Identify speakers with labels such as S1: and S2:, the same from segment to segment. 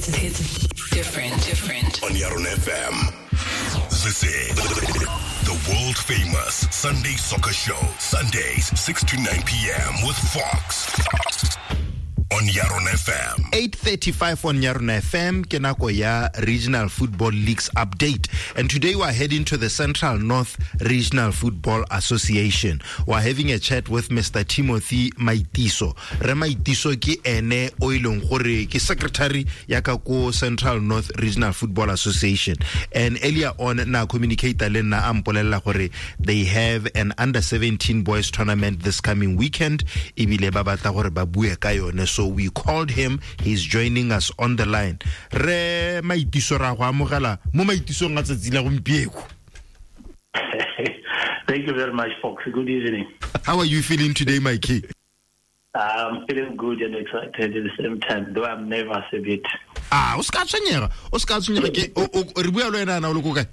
S1: It's it's different, different.
S2: On Yarona FM. This is the world famous Sunday Soccer Show. Sundays, 6 to 9 p.m. with Fox. On Yarona FM.
S3: 8:35 on Yarona FM, ke nako ya Regional Football Leagues update. And today we are heading to the Central North Regional Football Association. We are having a chat with Mr. Timothy Maitiso. Re Maitiso ke ene o e leng gore ke secretary ya ka ko Central North Regional Football Association. And earlier on na communicator le nna a mpolelela gore they have an under 17 boys tournament this coming weekend. Ebile ba batla gore ba bue ka yone. So we called him. He's joining us on the line. Re Maitiso, ra go amogela mo maitisong a tsatsi la gompieko.
S4: Thank you very much, Fox. Good evening.
S3: How are you feeling today, Mikey?
S4: I'm feeling good and excited at the same time, though I'm nervous a bit.
S3: Ah, o ska tshwenyega, o ska tshwenyega. Ke re bua le wena, na o le ko kae?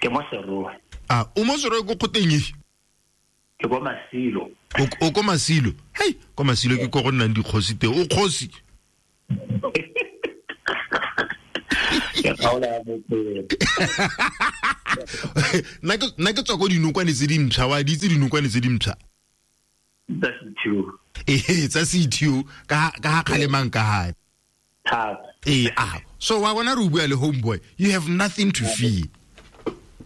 S4: Ke mo Serowe.
S3: Ah, o mo Serowe ko kgoteng efe?
S4: Ke ko Masilo.
S3: O ko Masilo. Hei, ko Masilo ke ko go nnang dikgosi teng. O kgosi?
S4: Ke kgaola ya bophelo.
S3: Nna ke tswa ko dinokwane tse dimpšha, wa di itse dinokwane tse dimpšha?
S4: Tsa CTO.
S3: Ee, tsa CTO, ka ha kgalemang ka hae.
S4: Thata.
S3: Ee, ah, so wa bona re bua le homeboy, you have nothing to fear.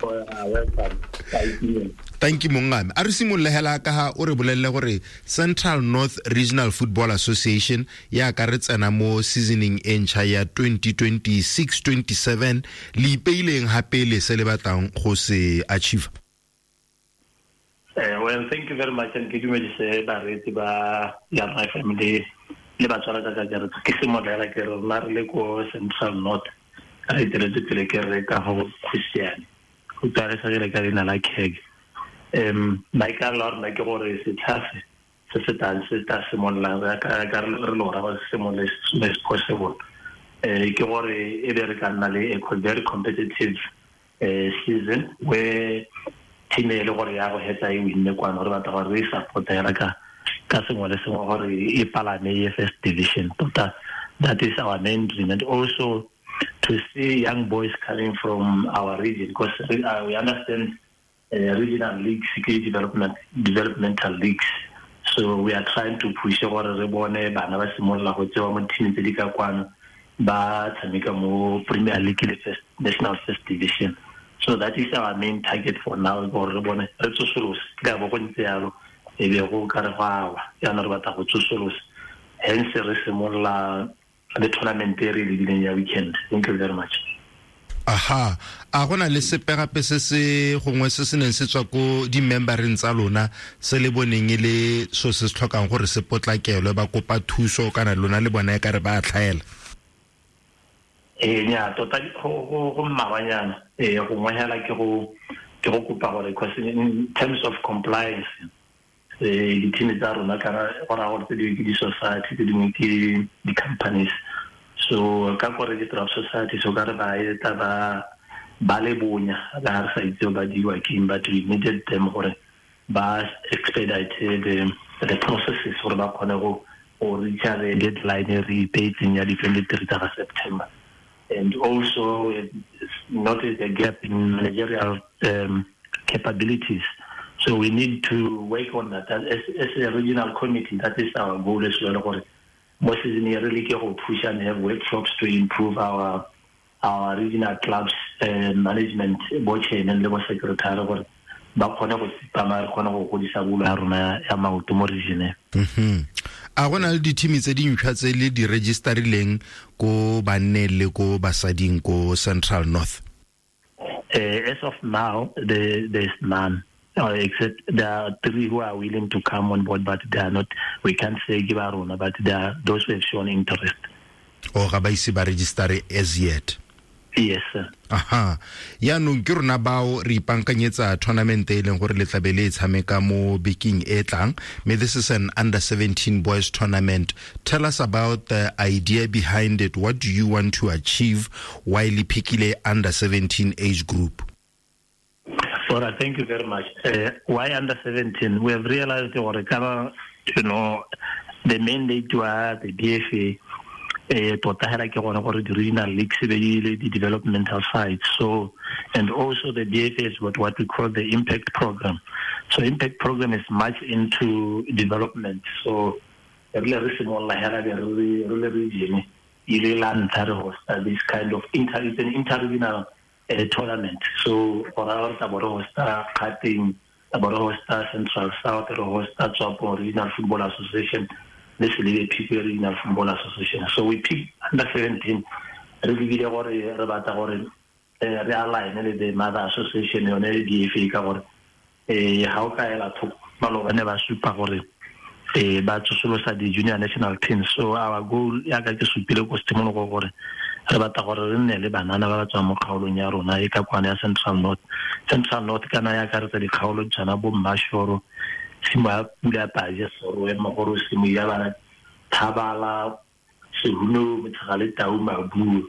S4: Welcome. Thank you.
S3: Thank you, mongame. A re simolole hela ka ha o re bolelle gore Central North Regional Football Association ya ka re tsena mo seasoning e ntšha ya 2026-27, le ipeileng hape le se le batlang go se achieve.
S4: Well, thank you very much, and ke dumedise bareetsi ba Yarona FM le batswala ka kakaretso. Ke simolola ke re rona re le ko Central North, re eteletse pele ke re ka go Khusiane, go tsaresagile ka leina la Keg. Maikaelelo a rona ke gore setlha se se se tlang se tla simololang, re ka re le gora gore se simolole as soon as possible. Ke gore e be re ka nna le a very competitive season where team e le gore ya go hetsa e winne kwano, re batla gore re e support hela ka sengwe le sengwe gore e palame ye first division. Tota that is our main dream, and also to see young boys coming from our region, because we understand regional leagues, developmental leagues. So we are trying to push gore re bone bana ba simolola go tsewa mo team tse di ka kwano, ba tshameka mo Premier League le first, National First Division. So that is our main target for now, gore re bone re tsosolose. Ke ka bo go ntse yalo, e be go ka re go awa, jaanong re batla go tsosolosa. Hence re simolola le tournament e re e lebileng ya weekend. Thank you very much.
S3: Aha, a gona le sepe gape se se gongwe se se neng se tswa ko di-membereng tsa lona se le boneng e le so se se tlhokang gore se potlakelwe, ba kopa thuso kana lona le bona e ka re ba tlhaela?
S4: Ee, nya, tota go mmalwanyana. Gongwe hela ke go kopa gore, because in terms of compliance, di-team tsa rona kana go raya gore tse dingwe ke di-society, tse dingwe ke di-companies. So ka ko register of society, so ka re ba etla ba le bonya, ba re sa itse ba diwa ke eng, but we needed them gore ba expedite the processes gore ba kgone go reach the deadline e re ipeetseng ya di-23 tsa ga September. And also notice the gap in managerial capabilities. So we need to work on that. As a regional committee, that is our goal as well. Gore mo season e re leke go push and have workshops to improve our regional clubs management, bo chairman le bo secretary, gore ba kgone go tsepama, re kgone go godisa bolo ya rona ya maoto mo region.
S3: A gona le di-team tse dintšhwa tse le di registerileng ko banneng le ko basading ko Central North?
S4: As of now, there is none. Except there are 3 who are willing to come on board, but they are not, we can't say give our own, but there are those who have shown interest.
S3: Oh, ga ba ise ba register as yet?
S4: Yes, sir.
S3: Aha. Yaanong ke rona bao re ipankanyetsa tournament e leng gore le tlabe le e tshameka mo bekeng e tlang. Mme this is an under 17 boys tournament. Tell us about the idea behind it. What do you want to achieve while le pickile under 17 age group?
S4: All right, thank you very much. Why under 17? We have realized, or the mandate to the BFA, Tota hela ke gone gore di-regional leagues be di le di-developmental sites. So, and also the BFA is what we call the impact program. So impact program is much into development. So re le re simolola hela be re le region ile la ntlha re hosta this kind of it's an interregional tournament. So go raya gore tla bo re hosta Kgatleng, tla bo re hosta Central South, re hosta Tswapong Regional Football Association, le Selebi Phikwe Regional Football Association. So we pick under 17 re lebile gore re batla gore re align le the mother association yone BFA, ka gore ga o ka ela thoko maloba ne ba supa gore ba tsosolosa di-junior national teams. So our goal yaka ke supile ko tshimologo gore re batla gore re nne le banana ba ba tswang mo kgaolong ya rona e ka kwana ya Central North. Central North kana ya akaretsa dikgaolo tshwana bo Mmashoro, tshimo ya Pula Paje, Serowe, Mogoro, Simo ya bana, Thabala, Sehuno, Motshegale, Tau, Mabuo.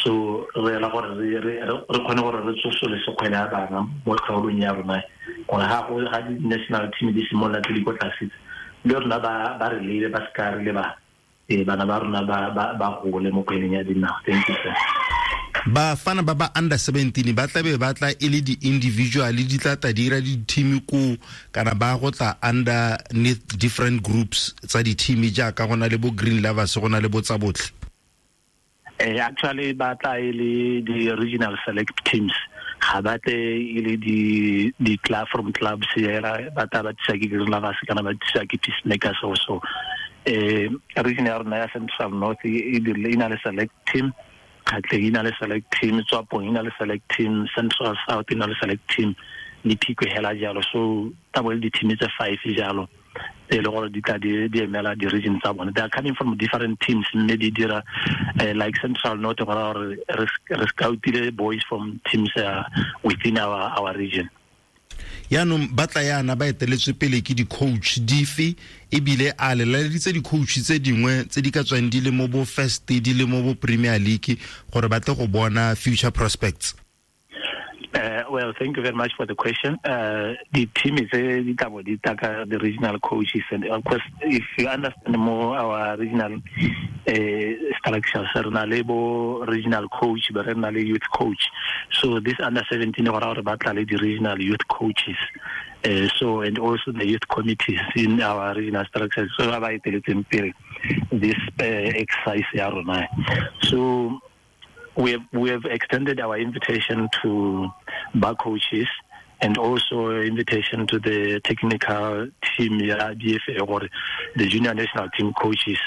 S4: So re ela gore re kgone gore re tsosolose kgwele ya bana mo kgaolong ya rona, gore ga go ga di-national team di simolola tse di ko tlase le rona ba re lebe, ba se ka re leba bana ba rona ba gole mo kgweleng ya dinao. Thank you, sir.
S3: Bafana ba ba under 17 ba tlabe ba tla e le di-individual di tla ta dira di-team ko kana ba go tla underneath different groups tsa di-team jaaka go na le bo Green Lovers, go na le bo tsa botlhe?
S4: Actually ba tla e le di-regional select teams, ga ba tle e le di club from clubs hela, ba tla ba tsisa ke Green Lovers kana ba tsisa ke Peacemakers also. Region ya rona ya Central North e dirile e na le select team, Kgatleng e na le select team, Tswapong e na le select team, Central South e na le select team, le Phikwe hela jalo. So tla bo le di-team tse 5 jalo tse e le gore di tla di emela di-region tsa bone. They are coming from different teams mme di dira like Central North go raya gore re scoutile boys from teams within our region.
S3: Yaanong ba tla yana ba eteletswe pele ke di-coach dife, ebile a le laleditse di-coach tse dingwe tse di ka tswang di le mo bo first, di le mo bo Premier League gore ba tle go bona future prospects?
S4: Well, thank you very much for the question. The team is the regional coaches, and of course, if you understand more our regional structures, re na le bo regional coach, but re na le youth coach. So this under 17 go raya gore ba tla le di-regional youth coaches. So and also the youth committees in our regional structures. So ba ba eteletseng pele this exercise ya rona. So we have extended our invitation to bar coaches and also invitation to the technical team ya BFA or the junior national team coaches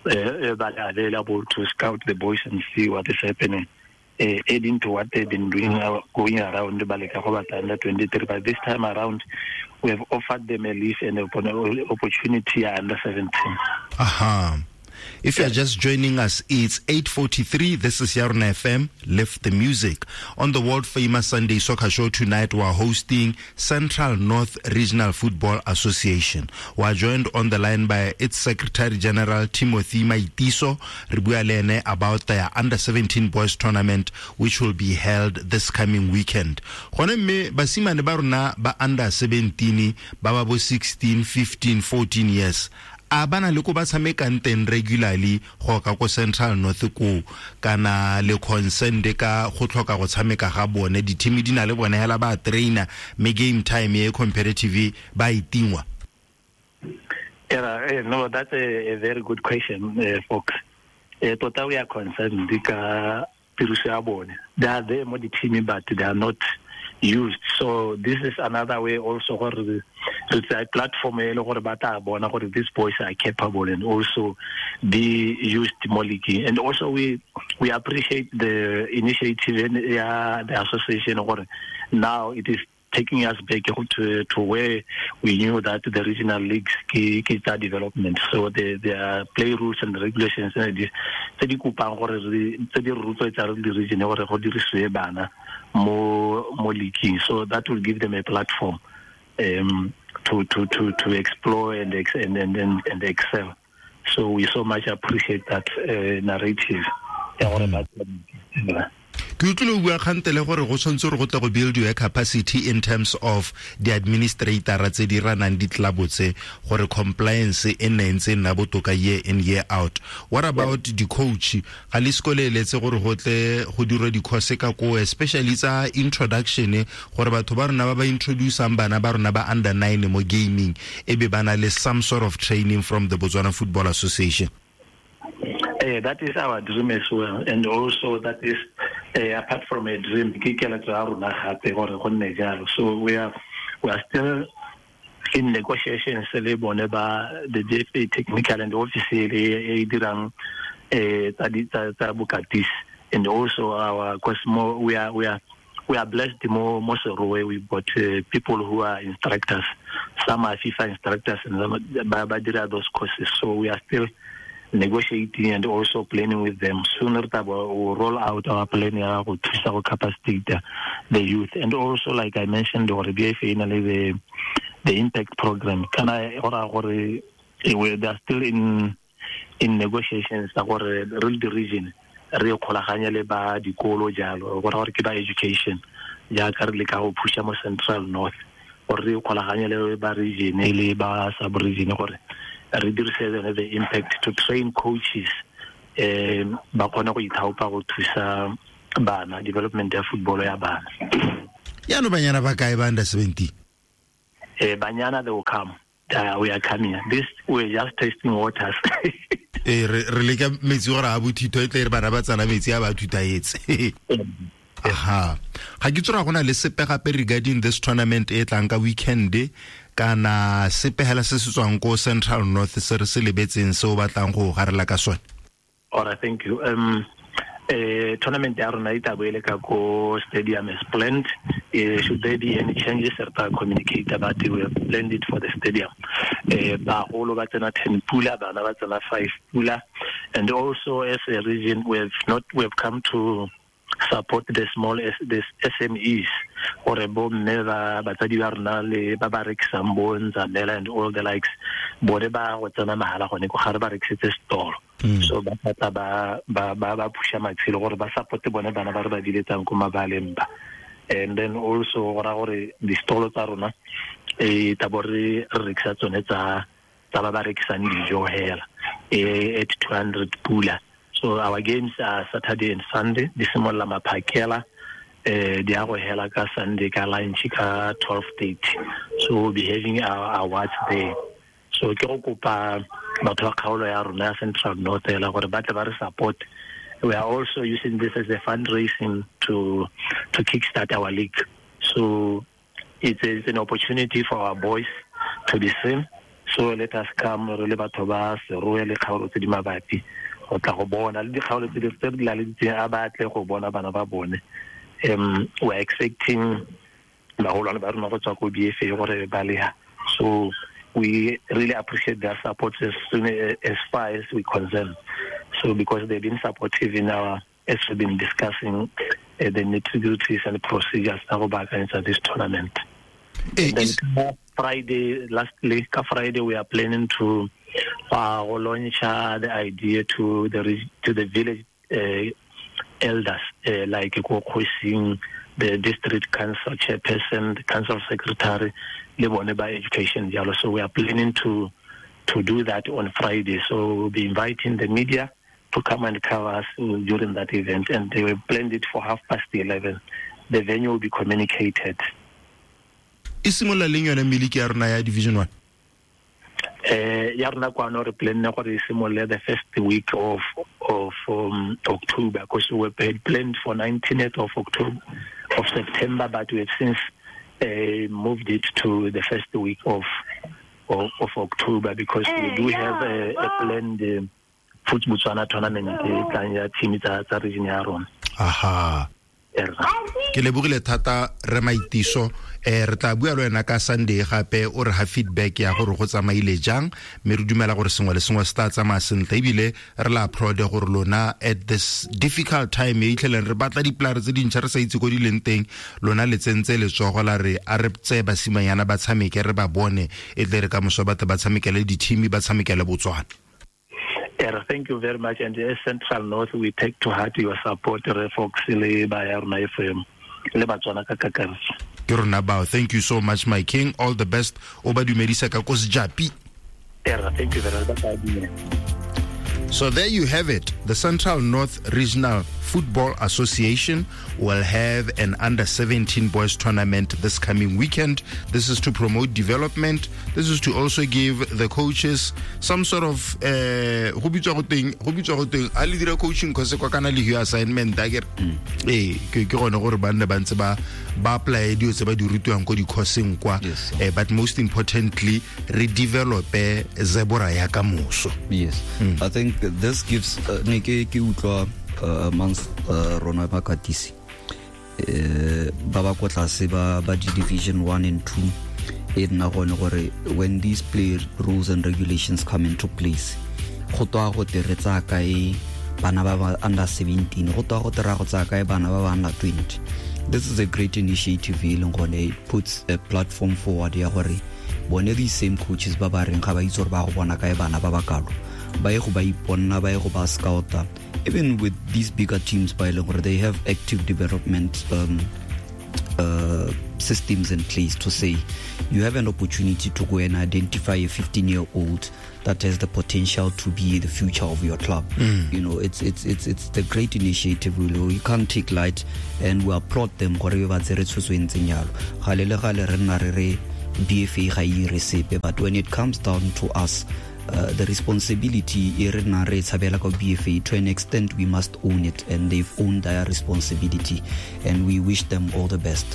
S4: are available to scout the boys and see what is happening, adding to what they've been doing going around Baleka go batla under 23. But this time around, we have offered them a lease and an opportunity under 17.
S3: Aha. If you are just joining us, it's 8:43. This is Yarona FM, Lift the Music. On the world famous Sunday Soccer Show tonight, we are hosting Central North Regional Football Association. We are joined on the line by its Secretary General, Timothy Maitiso. Re bua le ene about their Under 17 Boys Tournament, which will be held this coming weekend. Gone mme basimane ba rona ba under 17, ba ba bo 16, 15, 14 years, a bana le ko ba tshamekang teng regularly go ka ko Central North ko kana le concerned ka go tlhoka go tshameka ga bone, di-team di na le bone hela ba trainer me game time e competitive ba itingwa?
S4: Yeah, no, that's a very good question, folks. Tota we are concerned ka tiriso ya bone. They are there mo di-team but they are not used. So this is another way also gore it's a platform e le gore ba tla bona gore these boys are capable and also be used mo league. And also we appreciate the initiative ya the association gore now it is taking us back to where we knew that the regional leagues ke tsa development. So there are play rules and regulations tse di kopang gore tse di rotloetsa re le region gore go dirisiwe bana mo leaguing. So that will give them a platform to explore and excel. So we so much appreciate that narrative.
S3: Ke utlwile o bua kgantele gore go tshwanetse gore go tle go build your capacity in terms of the administrator tse di ranang di-club tse, gore compliance e nne ntse e nna botoka year in, year out. What about di-coach? Ga le seko le eletse gore go tle go dirwe di-course ka koo, especially tsa introduction, gore batho ba rona ba ba introducang bana ba rona ba under 9 mo gaming e be ba na le some sort of training from the Botswana Football Association?
S4: That is our dream as well, and also that is apart from a dream, ke keletso ya rona gape gore go nne jalo. So we are still in negotiations le bone ba the BFA technical and office e dirang tsa bokatisi, and also our Cosmo, we are blessed mo Serowe. We've got people who are instructors, some are FIFA instructors, and ba dira those courses. So we are still negotiating and also planning with them. Sooner we'll roll out our plan to capacitate the youth. And also, like I mentioned, the BFA, the impact program. They are still in negotiations gore re the region re kgolaganya le ba dikolo jalo gore ke ba education jaaka re leka go pusha mo Central North gore re kgolaganya le ba region le ba sub region gore re dirise the impact to train coaches ba kgone go ithaopa go thusa bana development ya football ya bana.
S3: Yaanong banyana ba kae ba under 17?
S4: Banyana, they will come. We are coming. This, we're just tasting waters.
S3: Re leka metsi gore a bothito e tle re bana ba tsana metsi a ba thutaetse. Aha. Ga ke tsora gona le sepe gape regarding this tournament e tlang ka weekend kana sepe hela se se tswang ko Central North se re se lebetseng se o batlang go garela ka sone?
S4: All right, thank you. Tournament ya rona e tla bo e le ka ko stadium as planned. Should there be any changes, re tla communicate about it. We have planned it for the stadium. Bagolo ba tsena 10 pula, bana ba tsena 5 pula. And also as a region, we have come to support the small SMEs gore bo mme ba batsadi ba rona le ba ba rekisang bo Nzamela and all the likes, bone ba go tsena mahala gone ko ga re ba rekisetse store. So ba tla ba pusha matshelo gore ba support bone bana ba re ba diletsang ko mabaleng ba. And then also gore di-stall tsa rona e tla bo re rekisa tsone tsa ba ba rekisang dijo hela at 200 pula. So our games are Saturday and Sunday. Di simolola maphakela, di a go hela ka Sunday ka lunch ka 12:30. So we'll be having our awards there. So ke go kopa batho ba kgaolo ya rona ya Central North hela gore ba tle ba re support. We are also using this as a fundraising to kickstart our league. So it's an opportunity for our boys to be seen. So let us come re le batho ba Serowe le kgaolo tse di mabapi go tla go bona le dikgaolo tse di laleditseng a ba tle go bona bana ba bone. We're expecting bagolwane ba rona go tswa ko BFA gore ba leha. So we really appreciate their support as soon as far as we concern. So because they've been supportive in our, as we've been discussing the nitty-gritties and the procedures that go back into this tournament. And then Friday, lastly, Friday we are planning to launch the idea to the village elders, like Kgosi, the district council chairperson, the council secretary, le bone ba education jalo. So we are planning to do that on Friday. So we'll be inviting the media to come and cover us during that event, and they will plan it for 11:30. The venue will be communicated.
S3: E simolola leng yone miliki ya rona ya Division 1?
S4: Ya rona kwano re planne gore e simolole the first week of October, because we had planned for 19th of October of September, but we have since moved it to the first week of October, because we do have a planned Foot Botswana tournament e tlang ya team tsa region ya rona.
S3: Aha. Ke lebogile thata re Maitiso. Re tla bua le wena ka Sunday gape o re ha feedback ya gore go tsamaile jang, mme re dumela gore sengwe le sengwe se tla tsamaya sentle, ebile re la applaud gore lona at this difficult time e itlheleng re batla dipolare tse dintšha re sa itse ko di leng teng, lona le tsentse letsogo la re a re tseye basimanyana ba tshameke re ba bone, e tle re ka moso ba tle ba tshamekele di-team ba tshamekele Botswana.
S4: Thank you very much. And as Central North, we take to heart your support, re Fox le ba ya rona FM le Batswana ka kakaretso.
S3: Ke rona bao. Thank you so much, my king. All the best. O ba dumedisa ka ko Sejapi.
S4: Thank you very much.
S3: So there you have it. The Central North Regional Football Association will have an under-17 boys tournament this coming weekend. This is to promote development. This is to also give the coaches some sort of go bitswa go teng a le dira coaching course kwa kana le hiyo assignment a kere ke gone gore ba nne ba ntse ba apply dilo tse ba di rutiwang ko di-courseng kwa. But most importantly, re develope zebra ya kamoso.
S5: Yes. I think this gives ne ke utlwa amongst rona bakatisi ba ba ko tlase ba di division 1 and 2 e nna gone gore when these play rules and regulations come into place, go twa go te re tsaya kae bana ba ba under 17, go twa go te ra go tsaya kae bana ba ba under 20. This is a great initiative e leng gone it puts a platform forward ya gore bone these same coaches ba ba reng ga ba itse gore ba go bona kae bana ba ba kalo, ba ye go ba iponna, ba ye go ba scouta. Even with these bigger teams by gore they have active development systems in place to say you have an opportunity to go and identify a 15-year-old that has the potential to be the future of your club. You know, it's the great initiative. You can't take light, and we applaud them. Gore ba tsere tshwetso e ntseng jalo. Gale le gale re nna re re BFA ga e ire sepe, but when it comes down to us, the responsibility e re nna re tshabela ka BFA, to an extent we must own it, and they've owned their responsibility, and we wish them all the best.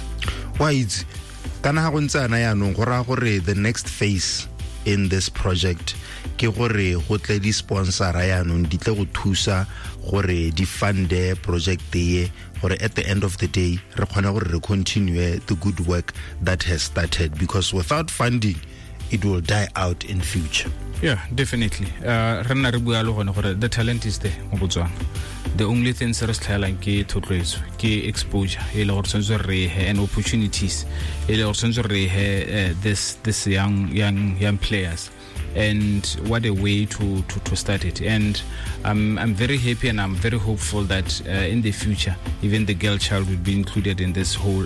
S3: Wa itse kana ga go ntse ana yaanong go raya gore the next phase in this project ke gore go tle di-sponsora yaanong di tle go thusa gore di funde project ye, gore at the end of the day re kgone gore re continue the good work that has started, because without funding it will die out in future.
S6: Yeah, definitely. Re nna re bua le gone gore the talent is there mo Botswana. The only thing se re se tlhaelang ke thotloetso, ke exposure e le gore tshwanetse re he, and opportunities e le gore tshwanetse re he this young players. And what a way to start it. And I'm very happy and I'm very hopeful that in the future, even the girl child will be included in this whole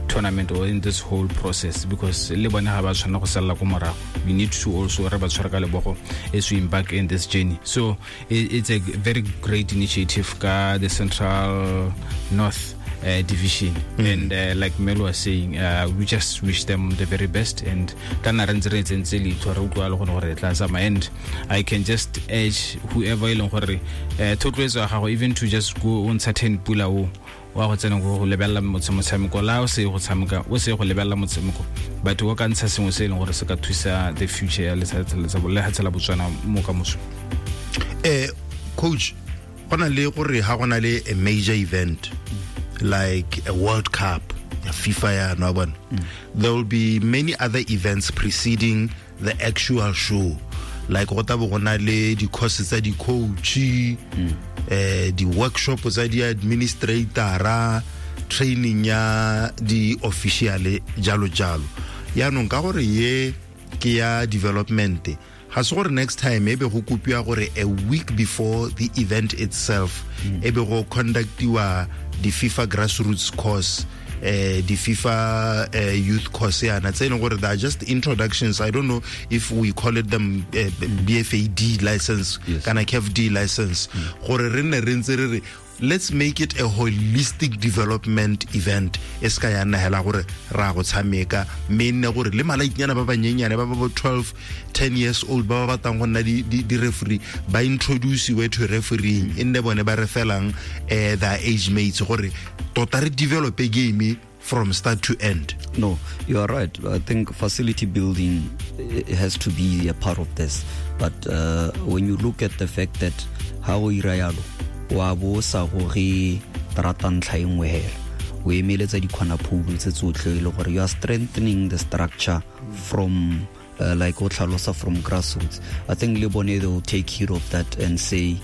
S6: tournament or in this whole process, because le bone ga ba tshwana go salla ko morago. We need to also re ba tshware ka lebogo as we embark in this journey. So it's a very great initiative ka the Central North division. And like Melo was saying, we just wish them the very best, and kana re ntse re tsentse leihlo re utlwa le gone gore tla tsamaya. And I can just urge whoever e leng gore thotloetso ya gago, even to just go on certain pula o wa go tsena go lebelela motshameko la o se go tshameka, o se go lebelela motshameko, but o ka ntsha sengwe se e leng gore se ka thusa the future ya lefatshe la Botswana mo kamoso.
S3: Coach, go na le gore ha go na le a major event like a World Cup, a FIFA ya no bona, there will be many other events preceding the actual show, like go tla bo go na le di-courses tsa di-coach, di-workshop tsa di-administratora, training ya di-official jalo jalo. Yaanong ka gore ye ke ya development, ga se gore next time e be go kopiwa gore a week before the event itself e be go conductiwa the FIFA grassroots course, the FIFA youth course yana tse e leng gore they are just introductions. I don't know if we call it them BFA D license, yes, kana CAF D license, gore re nne re ntse re re let's make it a holistic development event, e se ka ya nna hela gore ra go tshameka, mme nne gore le malaitnyana ba banyenyane ba ba bo 12 10 years old ba ba batlang go nna di referee ba introduciwe to refereeing, e nne bone ba refelang their age mates, gore tota re develop a game from start to end.
S5: No, you are right. I think facility building has to be a part of this. But when you look at the fact that ha o ira yalo, wa bo sa goge terata ntlha e nngwe hela, o emeletsa dikgwana phoulo tse tsotlhe, e le gore you are strengthening the structure from like o tlhalosa from grassroots. I think le bone they will take heed of that and say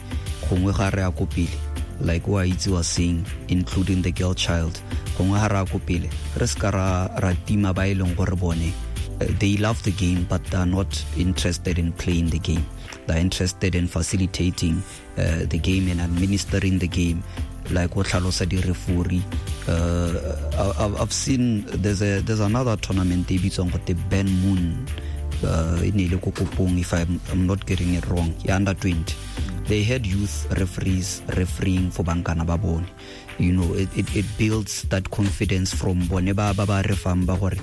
S5: gongwe ga re ya ko pele, like wa itse was saying, including the girl child, gongwe ga re ya ko pele re se ka ra tima ba e leng gore bone They love the game, but they're not interested in playing the game. They're interested in facilitating the game and administering the game. Like what tlhalosa di-referee. I've seen there's another tournament e bitswang gote Ben Moon, e ne le ko Kopong, if I'm not getting it wrong, ya under 20. They had youth referees refereeing for bankana ba bone. You know, it builds that confidence from bone ba ba ba refang ba gore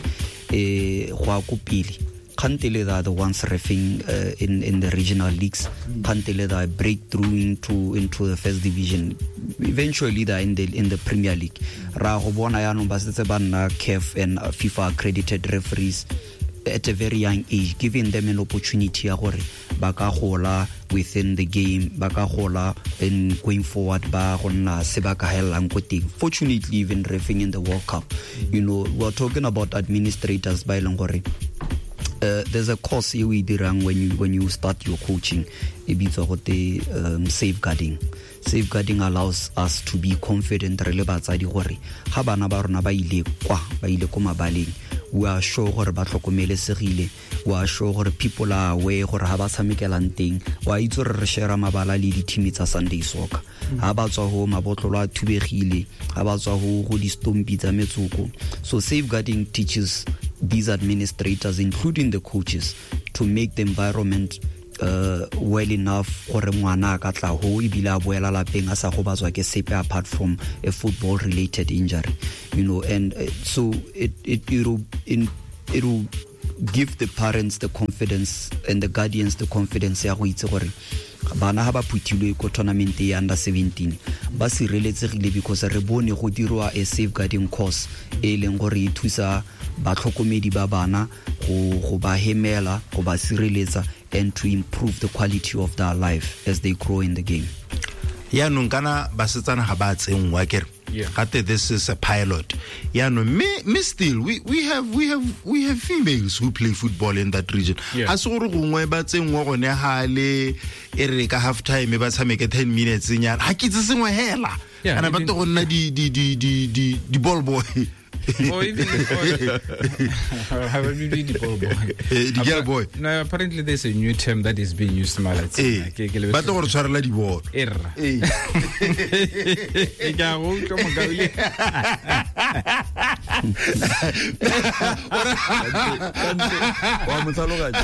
S5: go a ko pele. Kgantele they are the ones reffing in the regional leagues. Kgantele they are breakthrough into the first division. Eventually they are in the Premier League. Ra go bona yaanong ba setse ba nna CAF and FIFA accredited referees at a very young age, giving them an opportunity ya gore ba ka gola within the game, ba ka gola in going forward, ba go nna se ba ka helang ko teng. Fortunately, even reffing in the World Cup, you know, we're talking about administrators ba e leng gore there's a course e o e dirang when you start your coaching, e bitswa gote safeguarding. Safeguarding allows us to be confident re le batsadi gore ga bana ba rona ba ile kwa, ba ile ko mabaleng, we are sure gore ba tlhokomelesegile, we are sure gore people are aware gore ha ba tshamekelang teng. Wa itse gore re share mabala le di-team tsa Sunday soccer. Ha ba tswa ho mabotlolo a thubegile, ha ba tswa ho go di-stompi tsa metsoko. So safeguarding teaches these administrators, including the coaches, to make the environment well enough gore ngwana a ka tla ho ebile a boela lapeng a sa gobatswa ke sepe apart from a football related injury, you know. And so it will give the parents the confidence and the guardians the confidence ya go itse gore bana ha ba phuthilwe ko tournament ya under 17 ba sireletsegile, because re bone go dirwa a safeguarding course e leng gore e thusa batlhokomedi ba bana go ba hemela, go ba sireletsa, and to improve the quality of their life as they grow in the game.
S3: Yaanong kana basetsana ga ba tsenngwa kere gate this is a pilot. Yaanong me still we have females who play football in that region. A se gore gongwe ba tsenngwa gone hale e re ka half time ba tshameke 10 minutes nyana ha ke itse sengwe hela ana ba go nna di ball boy.
S6: Or even the ball boy.
S3: The girl boy.
S6: No, apparently there's a new term that is being used.
S3: Ba tlo go tshwarela di ball.
S6: Erra.
S5: Wa motlhaloganya.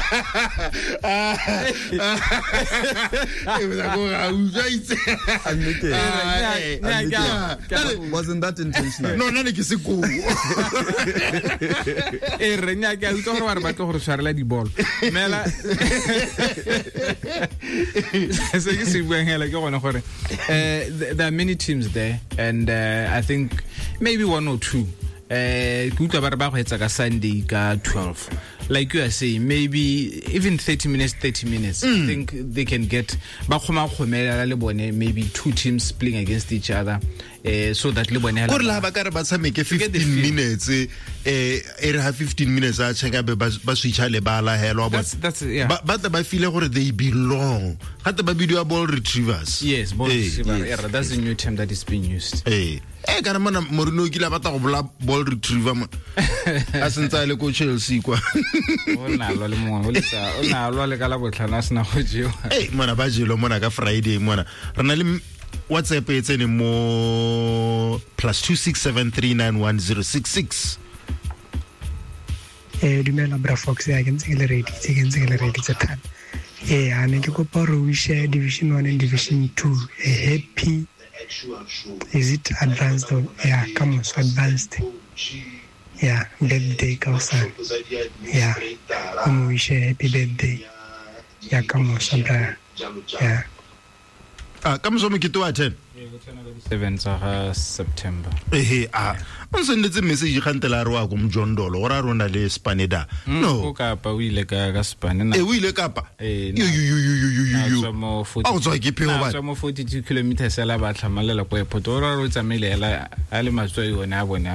S5: Wasn't that intentional?
S3: No, nna ne ke se ko.
S6: E re nya ke a utlwa gore ba tlo gore tshwarela dibolo. Mela se ke se buang hela ke gone gore there are many teams there, and I think maybe one or two ke utlwa ba re ba go etsa ka Sunday ka 12. Like you are saying, maybe even 30 minutes. I think they can get ba kgoma kgomela le bone, maybe two teams playing against each other, so that le bone
S3: gore la ba ka re ba tshameke 15 minutes e re ha 15 minutes a cheka be ba switcha le bala helo ba ba tla ba feel gore they belong gate ba bidiwa ball retrievers.
S6: Yes, ball retriever. Yeah, that's the new term that is being used.
S3: Kana mona Mourinho o kile a batla go bola ball retriever mo a sentse a le ko Chelsea kwa.
S6: O na lwa le mongwe o letsa o na lwa le ka la botlhano a sena go jewa.
S3: Mona ba jelo mona ka Friday mona re na le WhatsApp e tsene mo +2673910066.
S7: Dumela bra Fox, ya ke ntse ke le ready tse thata. A ne ke kopa gore o share Division 1 and Division 2 a happy, is it advanced or yeah, come on, so advanced. Yeah, birthday ka hosane. Yeah, o mo wish happy birthday. Yeah, come on, so bra. Yeah.
S3: Ka moso mokete wa 10.
S6: 7 tsa September.
S3: O sendetse message gantela re wa ko Mjondolo gore a rona le Spaneda. No.
S6: O Kapa o ile ka Spaneda.
S3: O ile Kapa. Yo. A o tswa ke pheo ba.
S6: Tswa mo 42 kilometers la ba tlhamalela ko airport. O re o tsamaile ela a le matswai one a bone.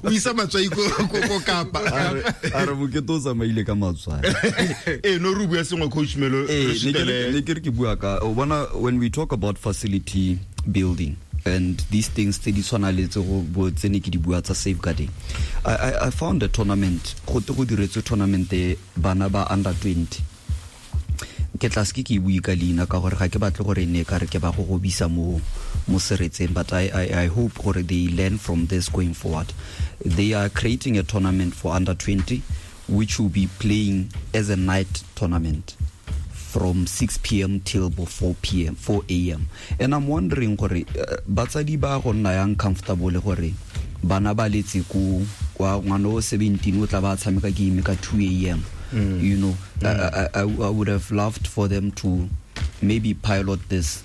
S3: O isa matswai ko Kapa.
S5: A re mokete o tsamaile ka matswai.
S3: No re bua sengwe coach Melo.
S5: Ne ke re ke bua ka o bona, when we talk about facility building, And these things tse di tshwana le tse go bo tse ne ke di bua tsa safeguarding. I found a tournament, go te go diretswe tournament bana ba under 20. Ke tla se ke bue ka leina ka gore ga ke batle gore ne ka re ke ba go gobisa mo seretseng, but I hope gore they learn from this going forward. They are creating a tournament for under 20 which will be playing as a night tournament from 6 p.m. till 4 a.m. And I'm wondering gore batsadi ba go nna yang comfortable gore bana ba letse ko kwa ngwana o 17 o tla ba tshameka game ka 2 a.m. You know, I would have loved for them to maybe pilot this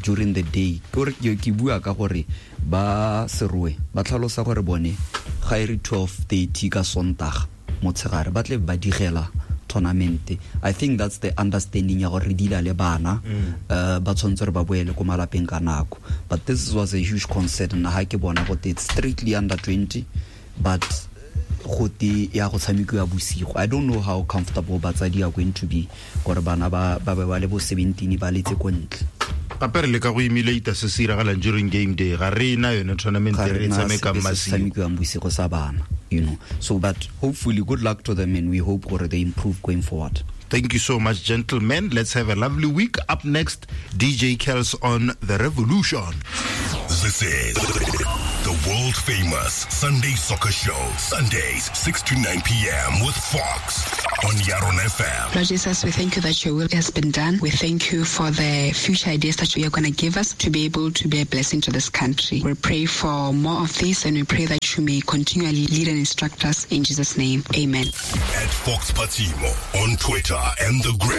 S5: during the day. Ke bua ka gore ba Serowe ba tlhalosa gore bone ga e re 12:30 ka Sondag motshegare ba tle ba digela tournament. I think that's the understanding ya gore re dila le bana ba tshwanetse re ba boele ko malapeng ka nako. But this was a huge concern nna ha ke bona gote it's strictly under 20, but gote ya go tshamekiwa bosigo. I don't know how comfortable batsadi are going to be gore bana ba ba le bo 17 ba letse ko ntle.
S3: Gape re leka go emulate se se iragalang during game day, ga re na yone tournament re tshamekang masigo,
S5: tshamekiwang bosigo sa bana, you know. So but hopefully good luck to them, and we hope gore they improve going forward.
S3: Thank you so much, gentlemen. Let's have a lovely week. Up next, DJ Kels on The Revolution.
S2: This is the world famous Sunday Soccer Show. Sundays, 6 to 9 p.m. with Fox on Yaron FM.
S1: Lord Jesus, we thank you that your will has been done. We thank you for the future ideas that you are going to give us to be able to be a blessing to this country. We pray for more of this, and we pray that you may continually lead and instruct us in Jesus' name. Amen.
S2: At Fox Patimo on Twitter and the Gram.